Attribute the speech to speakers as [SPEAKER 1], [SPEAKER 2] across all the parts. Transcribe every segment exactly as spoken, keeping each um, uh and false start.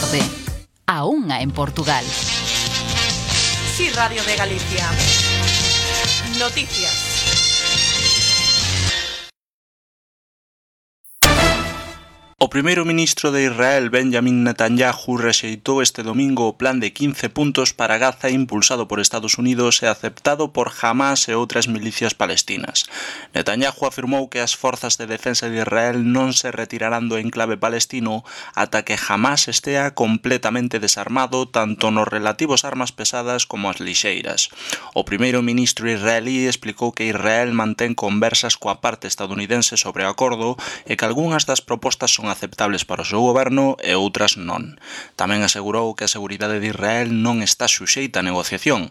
[SPEAKER 1] tarde. A unha en Portugal.
[SPEAKER 2] Sí, Radio de Galicia. Noticias.
[SPEAKER 3] O primeiro ministro de Israel, Benjamin Netanyahu, rexeitou este domingo o plan de quince puntos para Gaza impulsado por Estados Unidos e aceptado por Hamas e outras milicias palestinas. Netanyahu afirmou que as forzas de defensa de Israel non se retirarán do enclave palestino ata que Hamas estea completamente desarmado tanto nos relativos armas pesadas como as lixeiras. O primeiro ministro israelí explicou que Israel mantén conversas coa parte estadounidense sobre o acordo e que algunhas das propostas son aceptables para o seu goberno e outras non. Tamén asegurou que a seguridade de Israel non está suxeita a negociación.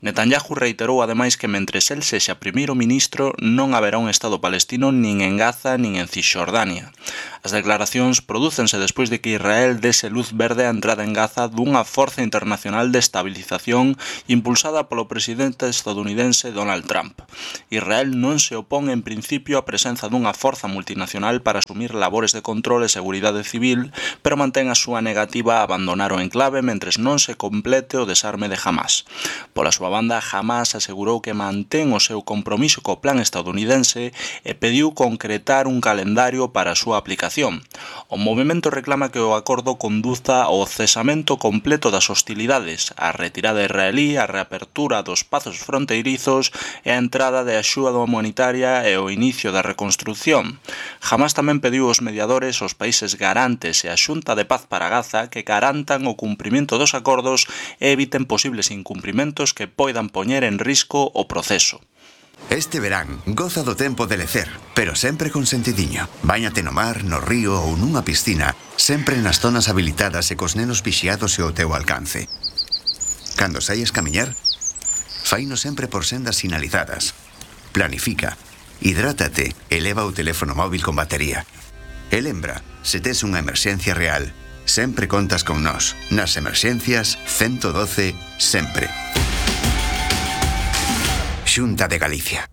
[SPEAKER 3] Netanyahu reiterou ademais que mentres el sexa primeiro ministro non haberá un Estado palestino nin en Gaza nin en Cisxordania. As declaracións prodúcense despois de que Israel dese luz verde á entrada en Gaza dunha forza internacional de estabilización impulsada polo presidente estadounidense Donald Trump. Israel non se opón en principio á presenza dunha forza multinacional para asumir labores de control e seguridade civil, pero mantén a súa negativa a abandonar o enclave mentres non se complete o desarme de Hamas. Pola súa banda, Hamas asegurou que mantén o seu compromiso co plan estadounidense e pediu concretar un calendario para a súa aplicación. O movemento reclama que o acordo conduza ao cesamento completo das hostilidades, a retirada israelí, a reapertura dos pazos fronteirizos e a entrada de axuda humanitaria e o inicio da reconstrución. Hamas tamén pediu aos mediadores, os países garantes e a Xunta de Paz para Gaza que garantan o cumprimento dos acordos e eviten posibles incumprimentos que poidan poñer en risco o proceso.
[SPEAKER 4] Este verán, goza do tempo de lecer, pero sempre con sentidiño. Báñate no mar, no río ou nunha piscina, sempre nas zonas habilitadas e cos nenos vixiados e ao teu alcance. Cando saias camiñar, faino sempre por sendas sinalizadas. Planifica, hidrátate e leva o teléfono móvil con batería. E lembra, se tes unha emerxencia real, sempre contas con nós. Nas emerxencias, ciento doce, sempre. Xunta de Galicia.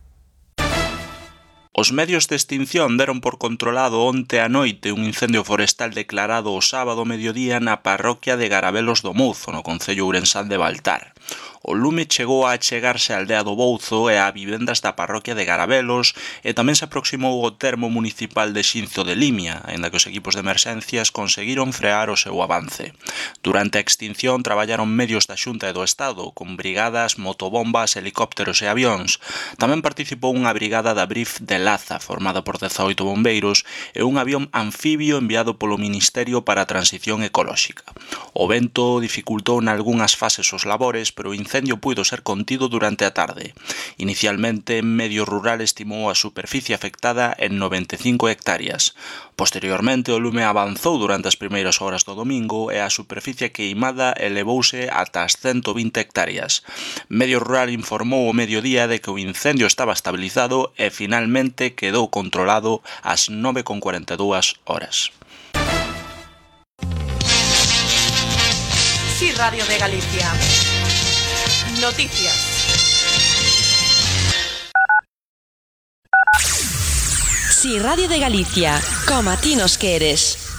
[SPEAKER 3] Os medios de extinción deron por controlado onte a noite un incendio forestal declarado o sábado mediodía na parroquia de Garabelos do Mouzo, no concello ourensán de Baltar. O lume chegou a achegarse á aldea do Bouzo e a vivendas da parroquia de Garabelos e tamén se aproximou ao termo municipal de Xinzo de Limia, aínda que os equipos de emerxencias conseguiron frear o seu avance. Durante a extinción traballaron medios da Xunta e do Estado, con brigadas, motobombas, helicópteros e avións. Tamén participou unha brigada da Brif de Laza, formada por dezaoito bombeiros, e un avión anfibio enviado polo Ministerio para a Transición Ecolóxica. O vento dificultou nalgunhas fases os labores, pero o incendio puido ser contido durante a tarde. Inicialmente, Medio Rural estimou a superficie afectada en noventa e cinco hectáreas. Posteriormente, o lume avanzou durante as primeiras horas do domingo e a superficie queimada elevouse ata as ciento vinte hectáreas. Medio Rural informou o mediodía de que o incendio estaba estabilizado e finalmente quedou controlado ás nove con cuarenta e dúas horas.
[SPEAKER 2] Sí, Radio de Galicia. Noticias.
[SPEAKER 5] Sí, Radio de Galicia, como a ti nos queres.